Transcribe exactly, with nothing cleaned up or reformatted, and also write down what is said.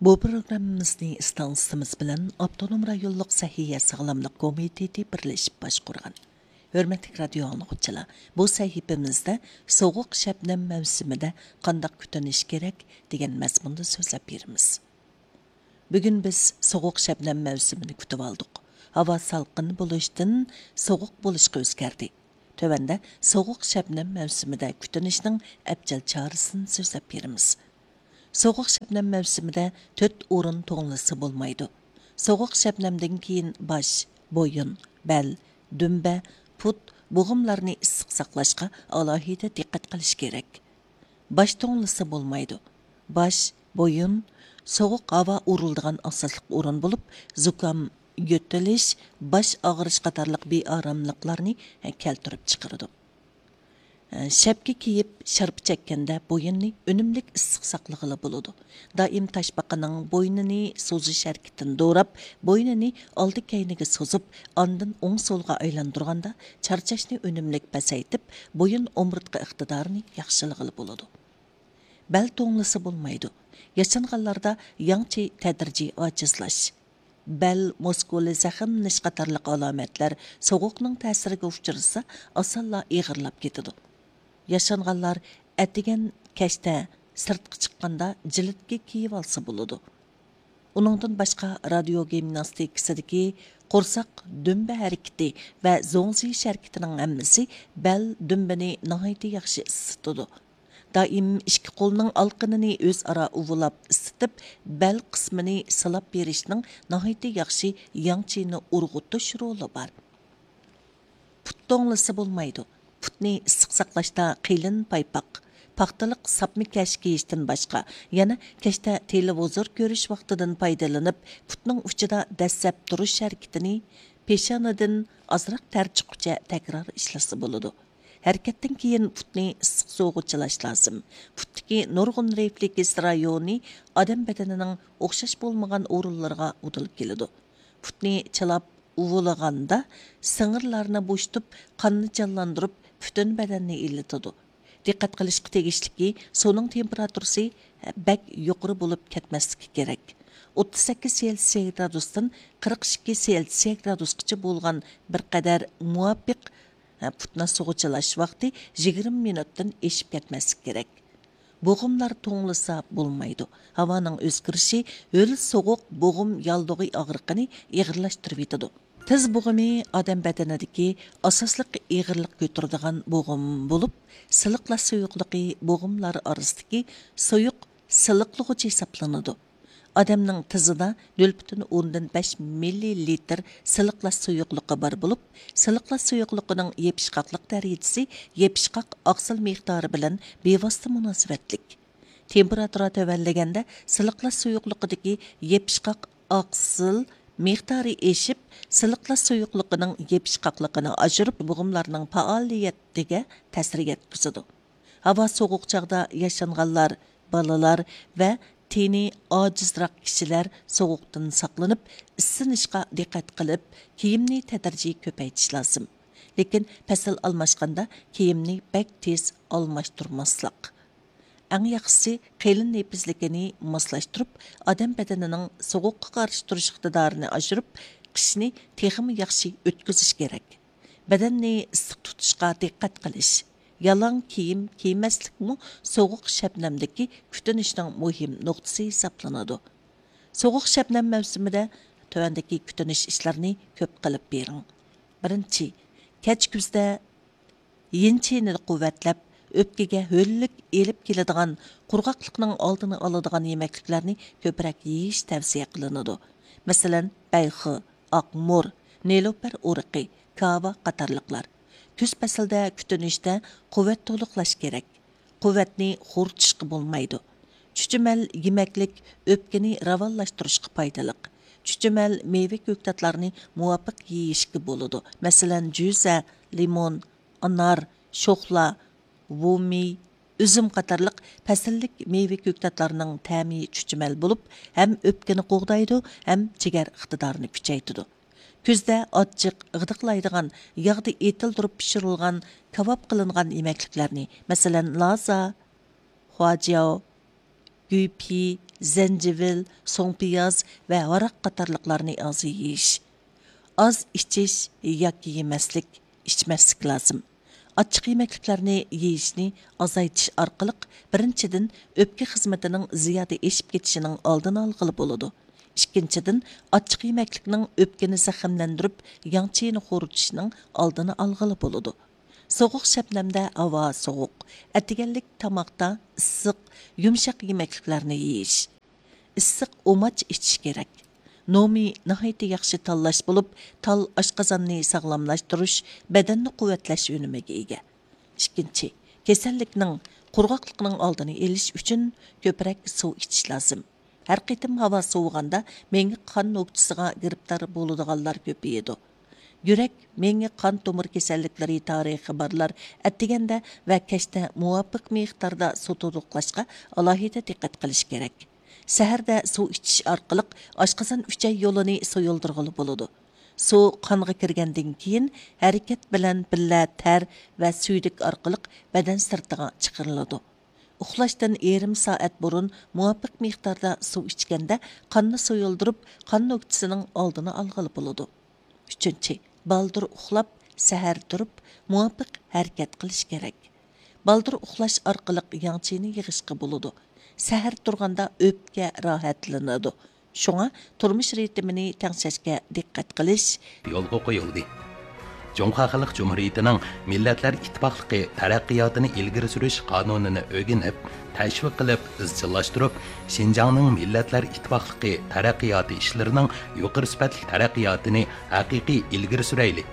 بۇ پروگراممىمىزنى ئىستانسىمىز بىلەن ئاپتونوم رايونلۇق سەھىيە ساغلاملىق كومىتېتى بىرلىشىپ باشقۇرغان. ھۆرمەتلىك رادىيو ئاڭلىغۇچىلار، بۇ سەھىپىمىزدە سوغۇق شەبنەم مەۋسۇمىدە قانداق كۈتۈنۈش كېرەك دېگەن مەزمۇندا سۆزلەپ بېرىمىز. بۈگۈن بىز سوغۇق شەبنەم مەۋسۇمىنى كۈتۈۋالدۇق. ھاۋا سالقىن بولۇشتىن سوغۇق بولۇشقا ئۆزگەردى. تۆۋەندە سوغۇق شەبنەم مەۋسۇمىدە كۈتۈنۈشنىڭ ئەپچىل چارىسىنى سۆزلەپ بېرىمىز. سوغۇق شەبنەم مەۋسۇمىدە تۆت ئورۇن توڭلىسا بولمايدۇ. سوغۇق شەبنەمدىن كېيىن باش، بويۇن، بەل، دۈمبە، پۇت، بوغۇملارنى ئىسسىق ساقلاشقا ئالاھىدە دىققەت قىلىش كېرەك. باش توڭلىسا بولمايدۇ. باش، بويۇن، سوغۇق ھاۋا ئۇرۇلىدىغان ئاساسلىق ئورۇن بولۇپ، زۇكام، يۆتىلىش، باش ئاغرىش قاتارلىق بىئاراملىقلارنى كەلتۈرۈپ چىقىرىدۇ. شەپكە كىيىپ، شارپا چەككەندە بويۇننى ئۈنۈملۈك ئىسسىق ساقلىغىلى بولىدۇ. دائىم تاشپاقىنىڭ بوينىنى سوزۇش ھەرىكىتىنى دوراپ، بوينىنى ئالدى كەينىگە سوزۇپ، ئاندىن ئوڭ سولغا ئايلاندۇرغاندا، چارچاشنى ئۈنۈملۈك پەسەيتىپ، بويۇن ئومۇرتقا ئىقتىدارىنى ياخشىلىغىلى بولىدۇ. بەل توڭلىسا بولمايدۇ. ياشانغانلاردا ياڭچى تەدرىجىي ئاجىزلاش، بەل مۇسكۇلى زەخىملىنىش قاتارلىق ئالامەتلەر سوغۇقنىڭ تەسىرىگە ئۇچرىسا، ئاسانلا ئېغىرلاپ كېتىدۇ. ياشانغانلار ئەتىگەن كەچتە سىرتقا چىققاندا جىلىتكە كىيىۋالسا بولىدۇ. ئۇنىڭدىن باشقا، رادىيو گىمناستىكىسىدىكى قورساق، دۈمبە ھەرىكىتى ۋە زوڭزىيىش ھەرىكىتىنىڭ ھەممىسى بەل، دۈمبىنى ناھايىتى ياخشى ئىسسىتىدۇ. دائىم ئىككى قولنىڭ ئالىقىنىنى ئۆزئارا ئۇۋىلاپ ئىسسىتىپ، بەل قىسمىنى سىلاپ بېرىشنىڭ ناھايىتى ياخشى ياڭ چىنى ئۇرغۇتۇش رولى بار. پۇت توڭلىسا بولمايدۇ. پۇتنى ئىسسىق ساقلاشتا قېلىن پايپاق، پاختىلىق ساپما كەش كىيىشتىن باشقا، يەنە كەچتە تېلېۋىزور كۆرۈش ۋاقتىدىن پايدىلىنىپ، پۇتنىڭ ئۇچىدا دەسسەپ تۇرۇش ھەرىكىتىنى پېشانىدىن ئازراق تەر چىققۇچە تەكرار ئىشلىسە بولىدۇ. ھەرىكەتتىن كېيىن پۇتنى ئىسسىق سۇغا چىلاش لازىم. پۇتتىكى نۇرغۇن رېفلېكس رايونى ئادەم بەدىنىنىڭ ئوخشاش بولمىغان ئورۇنلىرىغا ئۇدۇل كېلىدۇ. پۇتنى چىلاپ ئۇۋۇلىغاندا سىڭىرلارنى بوشىتىپ، قاننى جانلاندۇرۇپ، پۈتۈن بەدەننى ئىللىتىدۇ. دىققەت قىلىشقا تېگىشلىكى، سۇنىڭ تېمپېراتۇرىسى بەك يۇقىرى بولۇپ كەتمەسلىكى كېرەك. ئوتتۇز سەككىز سېلسىيە گرادۇستىن قىرىق ئىككى سېلسىيە گرادۇسقىچە بولغان بىر قەدەر مۇۋاپىق پۇتنى سۇغا چىلاش ۋاقتى يىگىرمە مىنۇتتىن ئېشىپ كەتمەسلىكى كېرەك. بوغۇملار توڭلىسا بولمايدۇ. ھاۋانىڭ ئۆزگىرىشى ھۆل سوغۇق بوغۇم ياللۇغى ئاغرىقىنى ئېغىرلاشتۇرۇۋېتىدۇ. تىز بوغۇمى ئادەم بەدىنىدىكى ئاساسلىق ئېغىرلىق كۆتۈرىدىغان بوغۇم بولۇپ، سىلىقلاش سۇيۇقلۇقى بوغۇملار ئارىسىدىكى سۇيۇق سىلىقلىغۇچ ھېسابلىنىدۇ. ئادەمنىڭ تىزىدا نۆل پۈتۈن ئوندىن بەش مىللىلىتىر سىلىقلاش سۇيۇقلۇقى بار بولۇپ، سىلىقلاش سۇيۇقلۇقىنىڭ يېپىشقاقلىق دەرىجىسى يېپىشقاق ئاقسىل مىقدارى بىلەن بىۋاسىتە مۇناسىۋەتلىك. تېمپېراتۇرا تۆۋەنلىگەندە، سىلىقلاش سۇيۇقلۇقىدىكى يېپىشقاق ئاقسىل مىقدارى ئېشىپ، سىلىقلاش سۇيۇقلۇقىنىڭ يېپىشقاقلىقىنى ئاشۇرۇپ، بوغۇملارنىڭ پائالىيىتىگە تەسىر يەتكۈزىدۇ. ھاۋا سوغۇق چاغدا ياشانغانلار، بالىلار ۋە تېنى ئاجىزراق كىشىلەر سوغۇقتىن ساقلىنىپ، ئىسسىنىشقا دىققەت قىلىپ، كىيىمنى تەدرىجىي كۆپەيتىش لازىم. لېكىن پەسىل ئالماشقاندا كىيىمنى بەك تېز ئالماشتۇرماسلىق. ئەڭ ياخشىسى، قېلىن نېپىزلىكىنى ماسلاشتۇرۇپ، ئادەم بەدىنىنىڭ سوغۇققا قارشى تۇرۇش ئىقتىدارىنى ئاشۇرۇپ، قىشنى تېخىمۇ ياخشى ئۆتكۈزۈش كېرەك. بەدەننى ئىسسىق تۇتۇشقا دىققەت قىلىش، يالاڭ كىيىم كىيمەسلىكمۇ سوغۇق شەبنەمدىكى كۈتۈنۈشنىڭ مۇھىم نۇقتىسى ھېسابلىنىدۇ. سوغۇق شەبنەم مەۋسۇمىدە تۆۋەندىكى كۈتۈنۈش ئىشلىرىنى كۆپ قىلىپ بېرىڭ. بىرىنچى، كەچ كۈزدە يىن چىنىنى قۇۋۋەتلەپ، ئۆپكىگە ھۆللۈك ئېلىپ كېلىدىغان، قۇرغاقلىقنىڭ ئالدىنى ئالىدىغان يېمەكلىكلەرنى كۆپرەك يېيىش تەۋسىيە قىلىنىدۇ. مەسىلەن، بەيخې، ئاقمۇر، نېلۇپەر ئۇرۇقى، كاۋا قاتارلىقلار. كۈز پەسلىدە كۈتۈنۈشتە قۇۋۋەت تولۇقلاش كېرەك. قۇۋۋەتنى خورىتىشقا بولمايدۇ. چۈچۈمەل يېمەكلىك ئۆپكىنى راۋانلاشتۇرۇشقا پايدىلىق. چۈچۈمەل مېۋە كۆكتاتلارنى مۇۋاپىق يېيىشكە بولىدۇ. مەسىلەن، جۈزە، لىمون، ئانار، شوخلا، ۋۇمىي، ئۈزۈم قاتارلىق پەسىللىك مېۋە كۆكتاتلارنىڭ تەمى چۈچۈمەل بولۇپ، ھەم ئۆپكىنى قوغدايدۇ، ھەم جىگەر ئىقتىدارىنى كۈچەيتىدۇ. كۈزدە ئاچچىق، غىدىقلايدىغان، ياغدا ئېتىلدۈرۈپ پىشۇرۇلغان، كاۋاپ قىلىنغان يېمەكلىكلەرنى، مەسىلەن، لازا، خۇاجياۋ، گۈيپىي، زەنجىۋىل، سوڭ پىياز ۋە ھاراق قاتارلىقلارنى ئاز يېيىش. ئاز ئىچىش ياكى يېمەسلىك، ئىچمەسلىك لازىم. ئاچچىق يېمەكلىكلەرنى يېيىشنى ئازايتىش ئارقىلىق، بىرىنچىدىن، ئۆپكە خىزمىتىنىڭ زىيادە ئېشىپ كېتىشىنىڭ ئالدىنى ئالغىلى بولىدۇ. ئىككىنچىدىن، ئاچچىق يېمەكلىكنىڭ ئۆپكىنى زەخىملەندۈرۈپ، ياڭ چىيىنى خورىتىشنىڭ ئالدىنى ئالغىلى بولىدۇ. سوغۇق شەبنەمدە ھاۋا سوغۇق، ئەتىگەنلىك تاماقتا ئىسسىق، يۇمشاق يېمەكلىكلەرنى يېيىش. ئىسسىق ئۇماچ ئىچىش كېرەك. نومى ناھايىتى ياخشى تاللاش بولۇپ، تال ئاشقازاننى ساغلاملاشتۇرۇش، بەدەننى قۇۋۋەتلەش ئۈنۈمىگە ئىگە. ئىككىنچى، كېسەللىكنىڭ، قۇرغاقلىقنىڭ ئالدىنى ئېلىش ئۈچۈن كۆپرەك سۇ ئىچىش لازىم. ھەر قېتىم ھاۋا سوۋۇغاندا، مېڭە قان نۆكچىسىغا گىرىپتار بولىدىغانلار كۆپىيىدۇ. يۈرەك، مېڭە، قان تومۇر كېسەللىكلىرى تارىخى بارلار ئەتىگەندە ۋە كەچتە مۇۋاپىق مىقداردا سۇ تولۇقلاشقا ئالاھىدە دىققەت قىلىش كېرەك. سەھەردە سۇ ئىچىش ئارقىلىق ئاشقازان ئۈچەي يولىنى سۇيۇلدۇرغىلى بولىدۇ. سۇ قانغا كىرگەندىن كېيىن، ھەرىكەت بىلەن بىللە تەر ۋە سۈيدۈك ئارقىلىق بەدەن سىرتىغا چىقىرىلىدۇ. ئۇخلاشتىن يېرىم سائەت بۇرۇن مۇۋاپىق مىقداردا سۇ ئىچكەندە، قاننى سۇيۇلدۇرۇپ، قان نۆكچىسىنىڭ ئالدىنى ئالغىلى بولىدۇ. ئۈچىنچى، بالدۇر ئۇخلاپ، سەھەر تۇرۇپ، مۇۋاپىق ھەرىكەت قىلىش كېرەك. بالدۇر ئۇخلاش ئارقىلىق ياڭ چىيىنى يىغىشقا بولىدۇ. سەھەر تۇرغاندا ئۆپكە راھەتلىنىدۇ. شۇڭا تۇرمۇش رىتىمىنى تەڭشەشكە دىققەت قىلىش. يولغا قويۇلدى. جۇڭخۇا خەلق جۇمھۇرىيىتىنىڭ مىللەتلەر ئىتتىپاقلىقى تەرەققىياتىنى ئىلگىرى سۈرۈش قانۇنىنى ئۆگىنىپ، تەشۋىق قىلىپ، ئىزچىللاشتۇرۇپ، شىنجاڭنىڭ مىللەتلەر ئىتتىپاقلىقى تەرەققىياتى ئىشلىرىنىڭ يۇقىرى سۈپەتلىك تەرەققىياتىنى ھەقىقىي ئىلگىرى سۈرەيلى.